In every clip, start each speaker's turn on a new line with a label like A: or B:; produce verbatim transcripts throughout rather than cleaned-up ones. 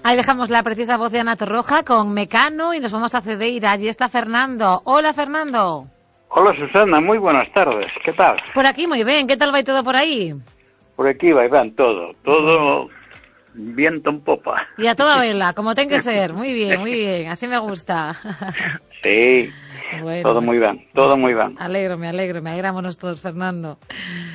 A: Ahí dejamos la preciosa voz de Ana Torroja con Mecano y nos vamos a Cedeira. Allí está Fernando. Hola, Fernando.
B: Hola, Susana, moi buenas tardes. Que tal?
A: Por aquí moi ben. Que tal vai todo por aí?
B: Por aquí vai ben todo. Todo viento en popa.
A: E a toda vela, como ten que ser. Moi bien, moi bien. Así me gusta.
B: Sí. Bueno, todo moi ben, todo moi ben.
A: Alégrome, alégrome, alegrámonos todos, Fernando.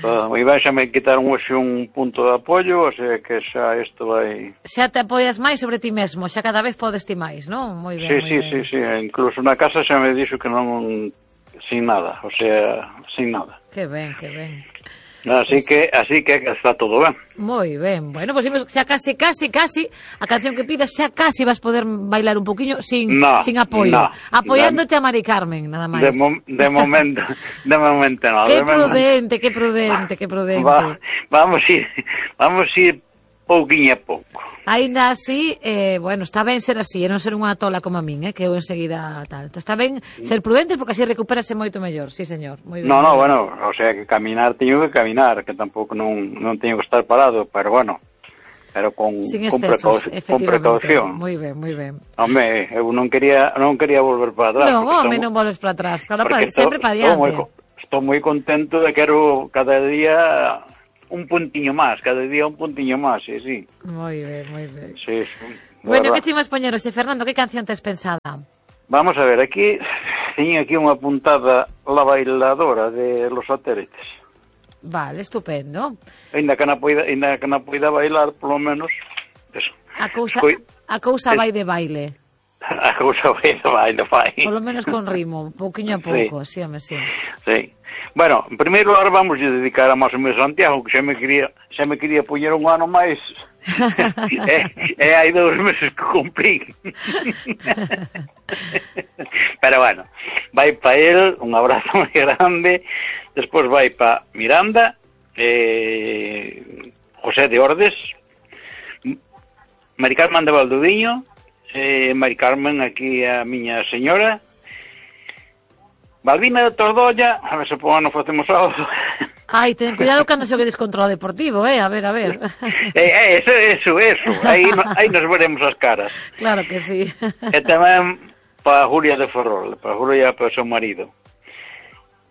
B: Todo moi ben, xa me quitaron hoxe un punto de apoio, o sea que xa isto vai...
A: Xa te apoias máis sobre ti mesmo, xa cada vez podes ti máis, non? Moi ben,
B: sí,
A: moi
B: sí,
A: ben.
B: Sí, sí, sí, incluso na casa xa me dixo que non... sin nada, o sea, sin nada.
A: Que ben, que ben.
B: Así que, así que está todo ben.
A: Moi ben. Bueno, pois pues, xa casi, casi, casi a canción que pidas, xa casi vas poder bailar un poquinho sin
B: no,
A: sin apoio.
B: No,
A: apoiándote a Mari Carmen, nada máis.
B: De, mo de momento, de momento no.
A: Que
B: de
A: prudente, que prudente, que prudente.
B: Va, vamos a ir, vamos a ir pouquinho a pouco.
A: Ainda así, eh, bueno, está ben ser así, e non ser unha tola como a min, eh, que eu enseguida tal. Está ben ser prudente porque así recuperase moito mellor, sí, señor. Moi ben.
B: No, no, bueno, o sea, que caminar teño que caminar, que tampouco non, non teño que estar parado, pero bueno, pero con,
A: sin
B: con,
A: excesos,
B: precau con precaución.
A: Moi ben, moi ben.
B: Home, eu non quería, non quería volver para atrás.
A: Non, home, non volves para atrás, claro, para, sempre para diante.
B: Estou moi contento de que quero cada día... un puntiño máis, cada día un puntiño máis, sí, sí.
A: Moi ben, moi ben.
B: Sí, sí.
A: Bueno, que chimas poñerose, Fernando, que canción tes pensada?
B: Vamos a ver, aquí, teño aquí unha puntada La bailadora de Los Satélites.
A: Vale, estupendo.
B: Ainda que na poida, ainda que na poida bailar, polo menos, eso.
A: A cousa, a cousa vai de baile.
B: A cousa vai de baile, vai.
A: Polo menos con ritmo, pouquiño a pouco, sí, home, sí.
B: Sí. Bueno, en primeiro lugar vamos a dedicar a máis o meu Santiago, que xa me quería, xa me quería poñer un ano máis. e, e hai dous meses que cumprí. Pero bueno, vai pa el, un abrazo moi grande. Despois vai pa Miranda, eh, José de Ordes, Mari Carmen de Valdoviño, eh, Mari Carmen aquí a miña señora, Balbina de Tordolla, a ver se por ano facemos algo.
A: Ai, ten cuidado cando xoguedes contra o Deportivo, eh, a ver, a ver.
B: eh, eh, eso, eso, eso, aí, aí nos veremos as caras.
A: Claro que sí.
B: E tamén para Julia de Ferrol, para Julia e para o seu marido.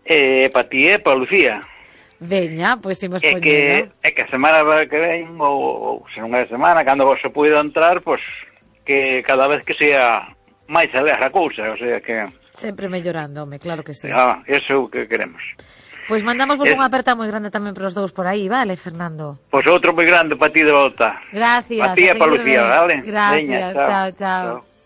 B: E para ti e para Lucía.
A: Veña, pois imos
B: poñendo. É que, é que a semana que ven, ou, ou se non é a semana, cando vos se poida entrar, pois que cada vez que sea máis alegre a cousa, o sea que...
A: Sempre mellorando, home, claro que sí.
B: Ah, eso é o que queremos.
A: Pois mandamos vos es... unha aperta moi grande tamén para os dous por aí, vale, Fernando?
B: Pois outro moi grande para ti de volta.
A: Gracias.
B: Para ti e para Lucía, vale?
A: Gracias,
B: Veña,
A: chao, chao. chao.